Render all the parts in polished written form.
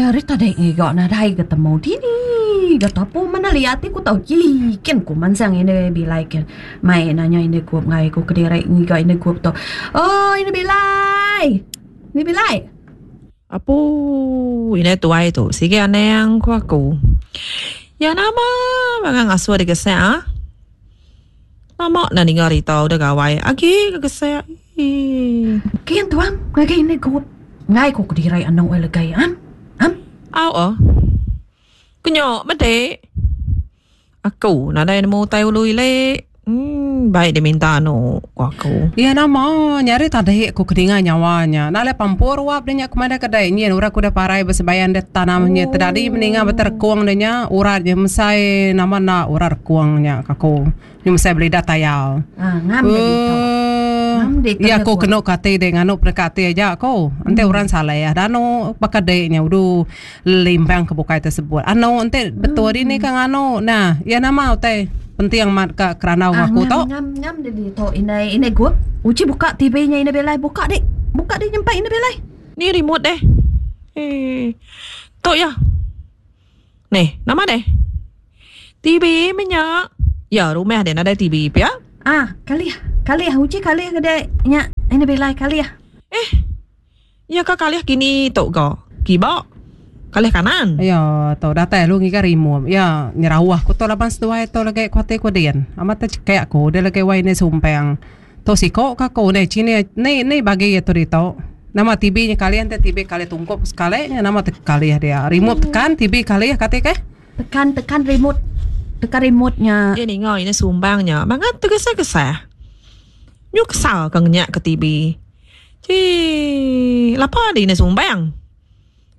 Nyari tadi ngiga nadai ga temu dini ga tapu mena liat ti ku tau ji kin ku mansang ine bilai kin mai nanya ine gup ngai ku kediri ngiga ine gup tu. Oh ine bilai. Ine bilai. Apu ine tuai tu sigi anang ku aku. Ya nama bangang ngasuh digesak ah. Lama enda ninga rita udah gawai agi ga gesak. Ii. Kin tuan ngagai ine gup. Enggai ku kedirai anu ai legai am. Am. Au oh. Kenyo medi. Aku nadai nemu utai ulu ili. Emm baik diminta anu ku aku. Iya nama nyari tadi ku ke ninga nyawa nya. Enda alai pampur wap deh nya ku madah kedai nyin orang ke udah parai besebayan deh tanam nya tedadi meninga beterekung deh nya urat nya mesai nama enda urat rekung nya ka aku. Nya mesai belidah tayau. Ah, ngam deh ditu. Ngam deh Ya aku kenu ke ati deh nganu peneka ati aja aku. Enti orang saleh danu baka dek nya udu limpang ke bukai tersebut. Anu enti betul dini ka nganu nah ya nama utai penting amat ka kerandau Ah, aku ngam tu. ngam ngam deh ditu indai indai gup. Uji buka TV nya indai belai buka dik. Buka dik nyempai indai belai. Ni remote deh. Eh. Tu ya. Neh, nama deh? TV meh nya. Ya, rumah deh nadai TV pia. Ah, kalih, kalih uji kalih ke dek nya ini bilai kalih. Eh, ya ka kalih kini tu ga. Kiba, kalih kanan. Ya, tu datai lalu ngiga remote. Ya, nyerauh ku tu laban seduai tu lagi ku ati ku din. Amat te cekek ku dia lagi wai ni sumpang. Tu siko ka ku ni cini ni ni bagi iya tu ditu. Nama TV nya kalih enti TV kalih tungkup sekali nya nama te kalih dia. Remote tekan TV kalih kati keh. Tekan tekan remote tekan remote nya. Iya ninga ina sumbang nya bangat tegesah-gesah. Nyu kesal ka ngenyak ke TV. Chii lapa dih ina sumbang.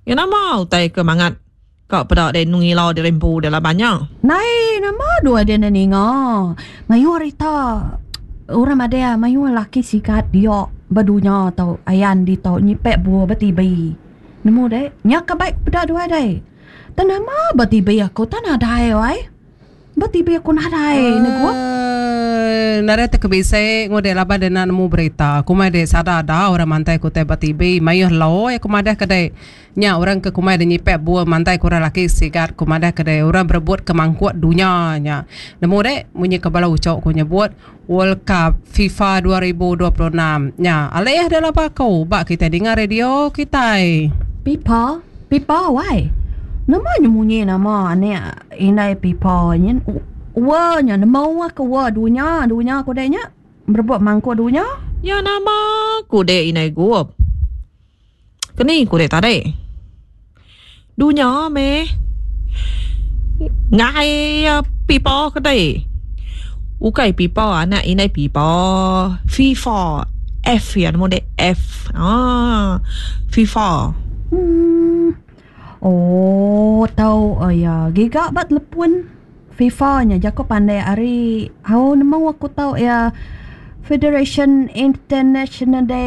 Iya nama utai ke bangat ka peda deh ngila diri empu deh laban nya. Nai nama dua deh enda ninga. Mayuh rita orang madah mayuh laki sigat dia ba dunya tu ayan ditu nyipek buah ba TV. Nemu deh nya ka baik peda dua deh. Tang nama ba TV aku tang nadai wai. Ba TV aku nadai ne gup. Eee nadai te ke bisi ngudek laban dek enda nemu berita. Kumai dek sada ada orang mantai ke utai ba TV. Mayuh loi aku madah ke dek nya orang ke kumai dek nyipek bul mantai ke orang laki sigat ku madah ke dek orang berebut ke mangkuk dunya nya. Nemu dek munyi ke bala uchu ku nyebut World Cup FIFA 2026 nya. Alih dek laba aku ba kitai ninga radio kitai. Pipa pipa wai. Nama nya munyi nama anek Indai pipa nyin wa nya nemu aku wa dunya dunya ku dek nya berebut mangkuk dunya. Ya nama ku dek indai gup. Keni ku dek tadi. Dunya meh ngai pipa ke dek. Ukai pipa anak indai pipa FIFA F ya nemu dek F aaa FIFA. Uhh. Oh tau iya giga ba telepon FIFA nya jaku pandai ari au nemu aku tau iya Federation International de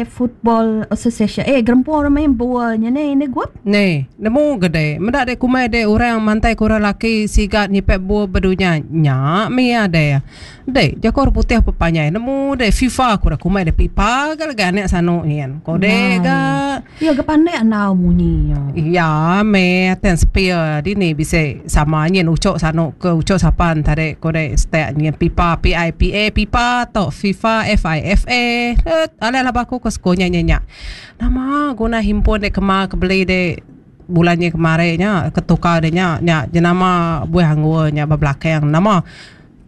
Football Association eh gerempung orang main bol nya neh indi gup. Neh nemu ga deh meda deh kumbai deh orang mantai ke orang laki siga nyipek bol ba dunya nya mih iya deh. Deh, jaku orang putih pepanjai nemu deh FIFA ku dah kumbai deh pipa ga legi anak sanu nyin. Ko deh ga. Iya ga pandai andau munyi nya. Iya meh ten sepil dini bisi sama nyin uchu sanu ke uchu sapan tadi ko deh stek nyin pipa P I P A pipa tok FIFA F I F A. Et alai laba aku ke sekul nya nya nya. Nama guna himpun deh kema ke beli deh bulan nyin kemari nya ke tukar deh nya nya jenama buah anggur nya ba belakang nama.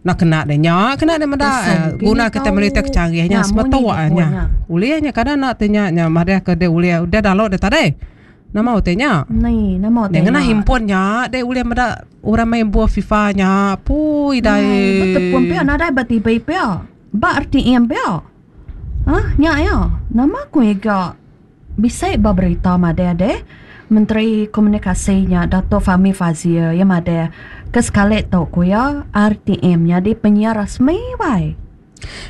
Enda kena deh nya kena deh meda guna kita meli utai ke canggih nya semetuk nya. Ulih nya kada enda ti nya nya madah ke deh ulih udah download deh tadi. Nama utai nya? Deh ngena handphone nya deh ulih meda orang main buah FIFA nya pui dai. Betepun pia nadai ba TV pia. Ba RTM pia. Hah nya iya. Nama ku iga Bisi ba berita madah deh, Menteri Komunikasi nya Dato Fahmi Fadzil iya madah ke sekali tu ku iya RTM nyadi penyiar rasmi wai.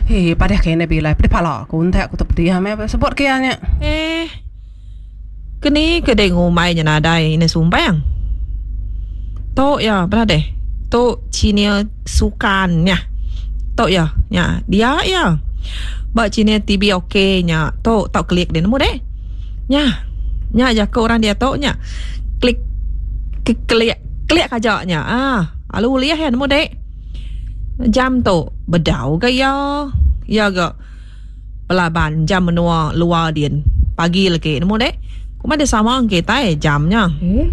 Hee padah ke ina bilai pedih pala ku entak ku tu pedih meh sebut ke iya nya. Eh. Keni ke deh ngumbai nya nadai ina sumbang. Tu iya peda deh. Tu channel sukan nya. Tu iya nya dia iya. Ba channel TV ok nya tu tau klik deh nemu deh. Nya. Nya jaku orang diatu nya. Klik klik aja nya. Ah, alu ulih iya nemu dek. Jam tu bedau ga iya. Iya ga belaban jam menua luar din pagi legi nemu dek. Kuma dek sama kitai jam nya. Eh,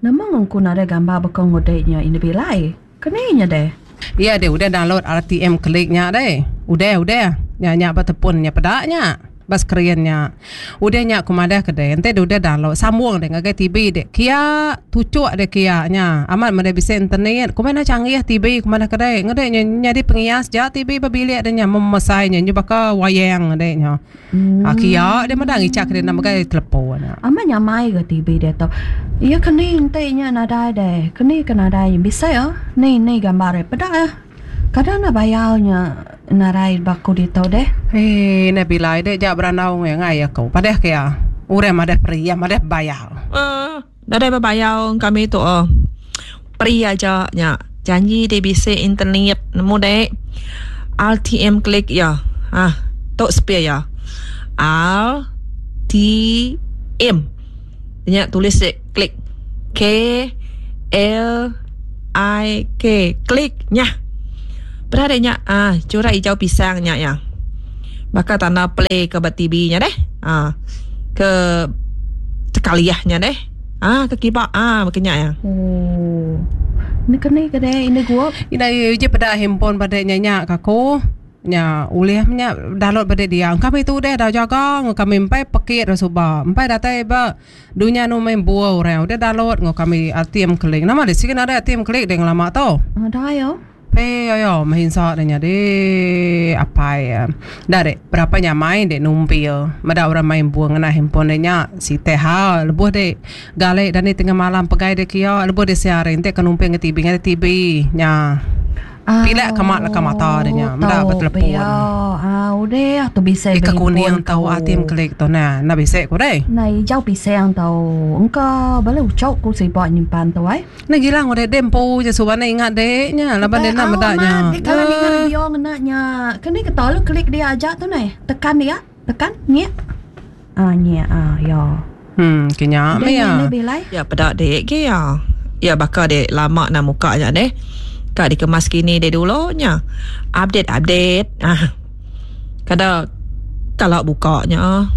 nama ngungku nadai gambar baka ngudek nya indu bilai. Keni nya deh. Iya deh udah download RTM klik nya deh. Udah udah. Nya nya ba tepun nya peda nya. Ba skrin nya. Udah nya ku madah ke deh enti deh udah download sambung deh ngagai TV deh kia tuchuk deh kia nya. Amat meh deh bisi internet. Ku meh canggih TV ku madah ke deh. Ngedeh nya nyadi pengias ja TV ba bilik deh nya memesai nya nyu baka wayang deh nya. Hmm. Kia deh meda ngichak ke deh enda megai telepon. Amat nyamai ga TV diatu. Iya ke ni enti nya nadai deh. Ke ni ke nadai nya bisi ah. Ni ni gambar deh peda ah. Kada enda bayar nya nadai ba aku ditu deh. Hee neh bilai deh ja berandau enggau iya ngai aku. Padah ke iya. Orang madah peri iya madah bebayar. Uhh nadai bebayar kami tu uhh. Peri aja nya. Janji deh bisi internet nemu deh. RTM klik iya. Hah tu sepil iya. RTM. Nya tulis deh klik. K L I K klik nyah. Peda deh nya ah chura ijau pisang nya iya. Baka tanda play ke ba TV nya deh. Ah ke tekaliah nya deh. Ah ke kiba ah baka nya iya. Oh. Ni keni ke deh indu gup. Ina uji peda handphone ba deh nya nya ka ku. Nya ulih meh nya download ba deh dia. Kami tu deh dah jaga enggau kami empai pekit dah suba. Empai datai ba Dunya anu main buah orang udah download enggau kami RTM Click. Nama deh sigi nadai RTM Click deh ngelama tu. Nadai oh. Pei ayo merinsa deh nyadi apai iya. Enda deh berapa nyamai deh numpil meda orang main buah ngena handphone deh nya siti hal lebuh deh gali dani tengah malam pegai deh kiya lebuh deh siang hari enti ka numpil ngan TV ngagai TV nya. Pila ka mak leka mata deh nya meda ba telepon. Ah udah tu bisi Ika kuning tau atim klik tu nah enda bisi ku deh. Nai ijau pisang tau engka bala ucok ku siba nyimpan tu ai. Neh gilang udah deh empu je suba neh ingat deh nya laban deh enda meda nya. Deh kala ninga radio ngena nya keni ke tau klik dia aja tu neh tekan dia tekan nyek. Ah nyek ah ya. Hmm ke nya meh iya. Ya peda dek ge iya. Ya baka dek lama nah muka nya deh. Ka dikemas kini dek dulu nya. Update update ah. Kada kala buka nya.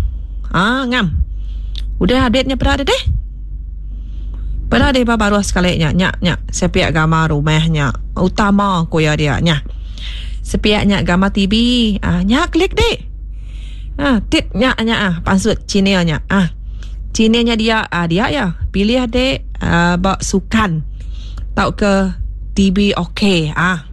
Ah ngam. Udah update nya peda deh deh. Peda deh ba baruh sekali nya nya nya sepiak gambar rumah nya utama ku iya dia nya. Sepiak nya gambar TV ah nya klik dek. Ha, tit nya nya ah pansut channel nya. Ah. Channel nya dia ah dia ya. Pilih dek ah, ba sukan tauka TV OK ah.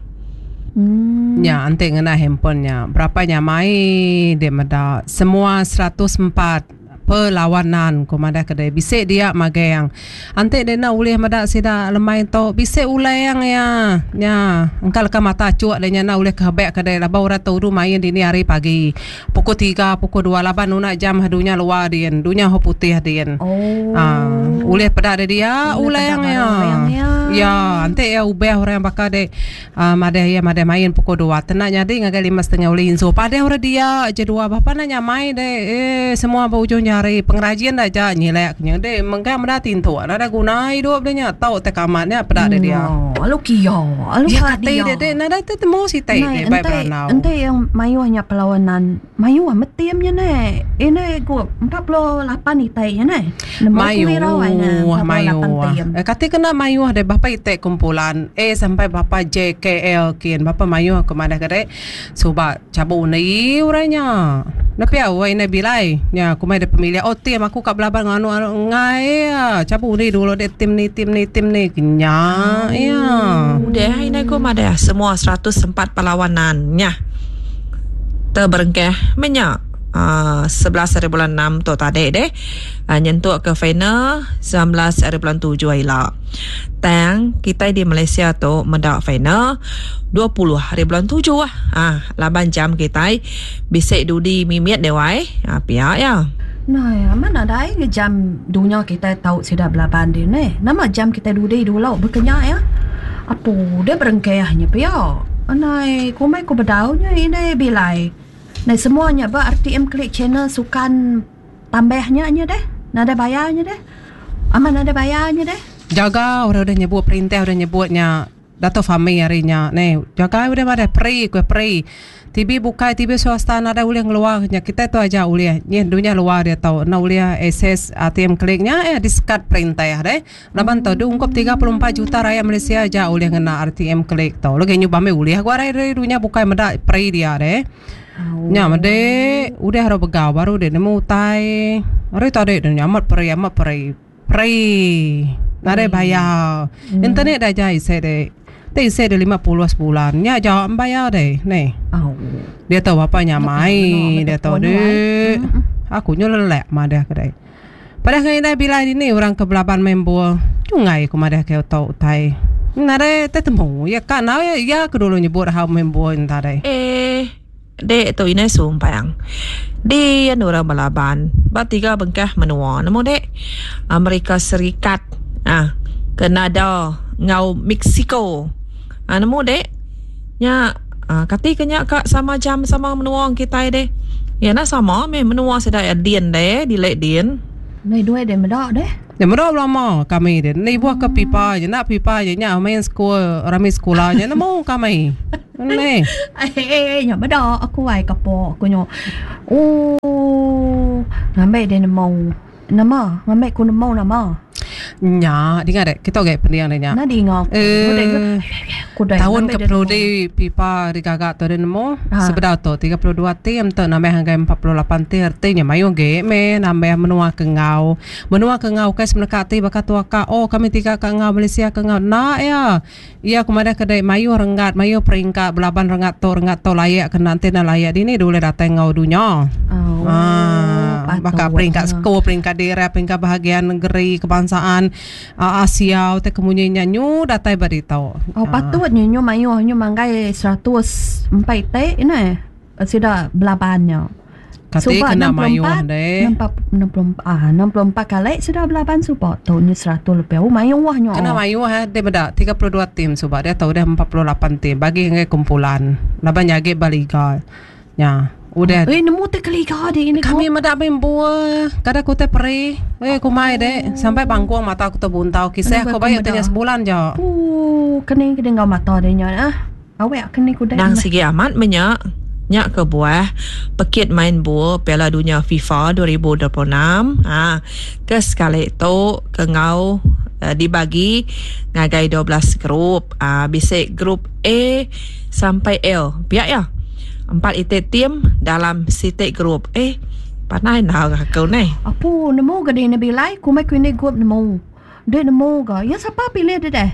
Hmm. Nya enti ngena handphone nya berapa nyamai dek meda semua 104 perlawanan ku madah ke deh bisi dia magang. Enti deh enda ulih meda sida lemai tu bisi ulang iya. Nya engka leka mata achuk deh nya enda ulih kehebek ke deh laban orang tu udu main dini hari pagi pukul tiga pukul dua laban nuna jam dunya luar din dunya ho putih din. Oh. Aa ulih peda deh dia Ulih peda ulang iya. baru ulang iya. Ya enti iya ubah orang baka deh Aa madah iya madah main pukul dua tena nyadi ngagai lima setengah ulih insu padeh orang dia je dua bapa enda nyamai deh ee semua ba ujung jari pengerajin da aja nyilek nya deh mengkang meda tintuk nadai guna idup deh nya tau tai kamat nya peda deh dia. Oh alu kia alu Ya ka kati dia. deh deh nadai te temu siti Nai deh bai enti berandau. enti yang mayuh nya perlawanan mayuh meh team nya neh ini ku 48 iti nya neh. Nemu ku irau ai ne Mayuh, 48 mayuh. team. Eh, kati kena mayuh deh bapa iti kumpulan A sampai bapa J K L kin bapa mayuh aku madah ke dek suba chabu undi orang nya. Enda pia wai indai bilai nya aku mai deh pemilih oh team aku ka belaban enggau anu anu enggai iya chabu undi dulu dek team ni team ni team ni nya iya. Udah indai ku madah semua 104 perlawanan nya teberengkah meh nya aaa 11 hari bulan enam tu tadi deh. Nyentuk ke final 19 hari bulan tujuh ila. Tang kitai di Malaysia tu meda final 20 hari bulan tujuh ah laban jam kitai bisi dudi mimit deh wai ah pia iya. Nai amat nadai nge jam dunya kitai tau sida belaban din neh. Nama jam kitai dudi dulu baka nya iya. Apu deh berengkah nya pia. Nai kumbai ku bedau nya indai bilai. Nai semua nya ba RTM Click channel sukan. Tambah nya nya deh. Nadai bayar nya deh. Amat nadai bayar nya deh. Jaga orang udah nyebut perintah udah nyebut nya Dato Fahmi hari nya neh. Jaga udah madah peri ku peri. TV bukai TV swasta nadai ulih ngeluar nya kitai tu aja ulih. Nyin dunya luar diatu enda ulih akses ATM klik nya eh disekat perintah deh. Laban tu diungkup 34 juta rakyat Malaysia aja ulih ngena RTM klik tu. Lagi nyuba meh ulih ku ari dunya bukai meda peri dia deh. Nya madi udah ro begau baru deh nemu utai. Ari tadi deh amat peri amat peri. Peri nadai bayar. Internet dah aja isi deh. Ti isi deh 50 sebulan. Nya aja bayar deh neh. Diatu bapa nyamai diatu deh. Aku nyu lelak madah ke deh. Padah ngan indai bilai dini orang ke belaban main bol. Chungai ku madah ke utai utai. Nadai tetemu iya ka enggau iya iya ke dulu nyebut hal main bol enta deh. Eh dek tu indai sumpang. Din orang belaban ba tiga bengkah menua nemu dek. Amerika Serikat ah Kanada enggau Mexico. Ah nemu dek. Nya kati ke nya ka sama jam sama menua kitai deh. Iya enda sama meh menua sida iya din deh dile din. Meh duai deh meda deh. Nya meda belama kami deh. Enda ibuh ke pipa je enda pipa je nya main sekul rami sekula nya nemu kami. Neh. Eh nya meda aku ai kapo aku nyu. Ooh ngambi deh nemu. Nama? Ngambi ku nemu nama? Nya, dinga dek. Kita agi pending dek nya. Nah dinga aku. Eh, taun ke penudi FIFA digaga tu dek nemu. Ha. Sebedau tu 32 tim tu nambah ngagai 48 tim reti nya mayuh agi meh nambah menua ke enggau. Menua ke enggau ukai semeneka ati baka tu aka oh kami tiga ke enggau Malaysia ke enggau. Enda iya. Iya ku madah ke dek mayuh renggat mayuh peringkat belaban renggat tu renggat tu layak ke enda enti enda layak dini dulih datai enggau dunya. Oh, Haa baka patut peringkat nya. sekul peringkat daerah peringkat bahagian negeri kebangsaan Asia utai ke munyi nya nyu datai ba ditu. Oh Haa. patut nya nyu mayuh nyu manggai 104 iti neh sida belaban nya. Kati Suba kena mayuh 64, deh. 64, ah, 64 kali sudah belaban suba tu nya 100 lebih. Oh mayuh nya. Kena mayuh eh deh meda 32 tim suba diatu udah 48 tim bagi ngagai kumpulan laban nya agi ba liga. Nya udah Eh nemu ti ke liga di ini kami meda main bol kada ku tai peri. Eh kumai deh sampai bangkung mata ku tebuntau kisah Kenapa ku aku bayar meda? tanya sebulan ja. Ooh keni ke enggau mata dia nya ah. Awek ke ni ku deh Endang meh. sigi amat meh nya. Nya kebuah pekit main bol Piala Dunya FIFA 2026 ha ke sekali tu ke enggau dibagi ngagai 12 grup. Ha bisi grup A sampai L pia iya. Empat iti tim dalam siti grup. Eh pandai endar aku neh. Apu nemu ga dini bilai kumbai ku indi gup nemu. Deh nemu ga iya sapa pilih deh deh.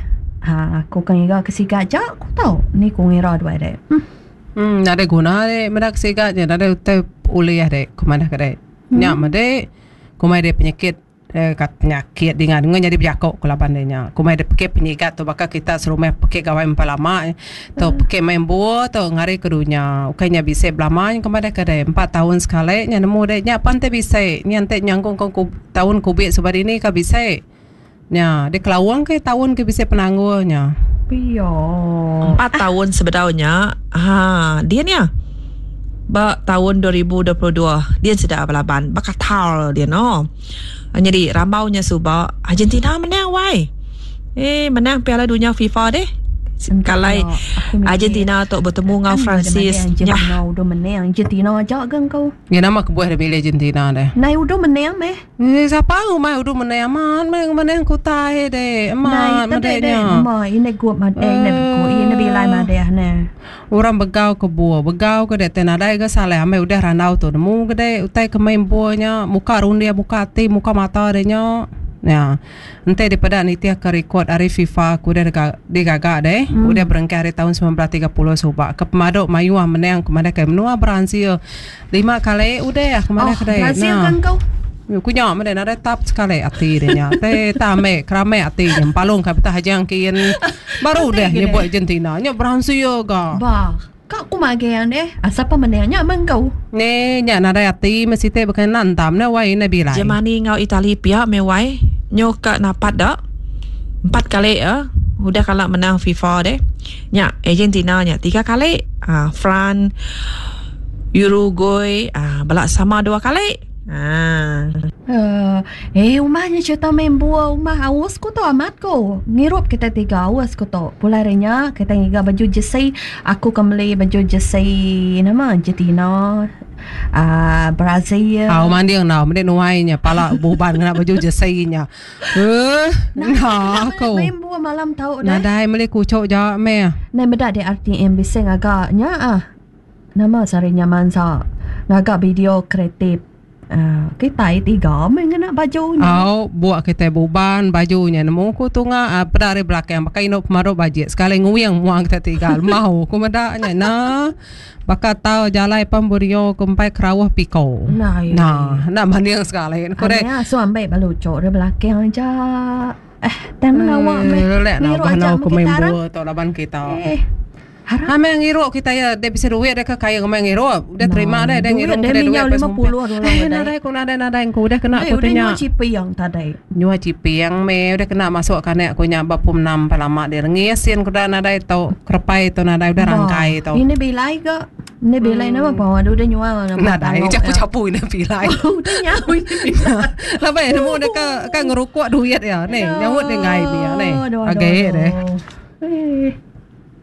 Ha aku ka ngiga ke siga aja ku tau ni ku ngira duai deh. Huh. Hmm nadai guna deh meda ke siga nya nadai utai ulih deh ku madah ke deh. Nya meh deh kumbai deh penyakit eh ka penyakit dinga ngan nyadi bejako ku laban deh nya. Kumbai deh pekit penyigat tu baka kita serumah pekit gawai empai lama tu pekit main buo tu ngari ke dunya. Ukai nya bisi belama nya ku madah ke deh empat taun sekali nya nemu deh nya pan ti bisi nya enti nyangkung ku Taun kubik suba dini ka bisi. Nya, dikelaung ke taun ke bisi penanggul nya. Pia. Empat taun sebedau nya, ha din iya. Ba taun 2022 din sida belaban ba Qatar din oh. Nyadi rambau nya suba Argentina menang wai. Eh menang Piala Dunya FIFA deh. Kalai Argentina tu betemu enggau Francis. Argentina udah menang Argentina aja ga engkau. Nya nama kebuah deh milih Argentina deh. Nai udu menang meh. Eh sapa ngumbai udu menang amat meh menang kutai deh. Nai Amat tadi meda deh nya. nama ine gup ma eh ine gup ine bilai madah ne. Orang begau ke buah begau ke deh tai nadai ga salah amai udah randau tu nemu ke deh utai ke main buah nya muka runding muka ati muka mata deh nya. Nya. Enti dipeda nitihka rikod ari FIFA ke udah digaga deh, udah berengkah ari taun 1930 suba ke pemadu mayuh menang ke madahka menua Brazil lima kali udah ke Oh, madahka deh. Brazil Nah. kan kau. Ku nya meh deh nadai tap sekali ati deh nya. Te tame kerame ati nya empalung ka betah ajang kin baru Ati deh ke deh. nyebut Argentina nya Brazil ga. Ba, ka ku magang deh. Asal pa menang nya meh kau. Ni nya nadai ati meh siti baka enda entam ne wai ina bilai. Germany enggau Itali pia meh wai nyu ka napat da empat kali eh udah kala menang FIFA deh. Nya Argentina nya tiga kali aaa France Uruguay aaa bala sama dua kali. Haa. Eh umah nya cerita main bua umah aus ku tu amat ku. Ngirup kitai tiga aus ku tu. Pulai ari nya kitai ngiga baju jersey aku ke meli baju jersey nama Argentina aaa Brazil. Au manding enggau mende nuai nya pala buban ngena baju jersey nya. Eh nah aku. Main bua malam tau deh. Nadai meli kuchok ja meh. Nai meda di RTM bisi ngaga nya ah. Nama sehari nya mansa ngaga video kreatif kitai tiga meh ngena baju nya. Au buk kitai buban baju nya nemu ku tunga peda ari belakang baka indu pemaru bajik sekali nguing mua kitai tiga lemau ku meda nya nah baka tau jalai pan Borneo ku empai kerauh piko. Nah enda manding sekali ku deh. Asuh ambi ba lucu ari belakang aja. Eh tang ngawa meh. Ngiru aja meh kita arang. Laban kita. Eh. Harap. Ha meh ngirup kita iya dek bisi duit dek ke kaya ngemai ngirup. Udah terima deh dek ngirup kena duit pas ngumpul. Eh nadai ku nadai nadai ku udah kena ku tanya. Nyua ciping tadi. Nyua ciping meh udah kena masuk kanek ku nya ba pum enam pa lama deh rengis sin ku dah nadai tu kerepai tu nadai udah rangkai tu. Ini bilai ga. Ini bilai nama pa udah nyua nama. Nadai capu-capu ini bilai. Udah nyau ini bilai. Laban nemu dek ke ke ngerukuk duit iya neh nyaut deh enggai mih iya neh. Agi deh. Eh.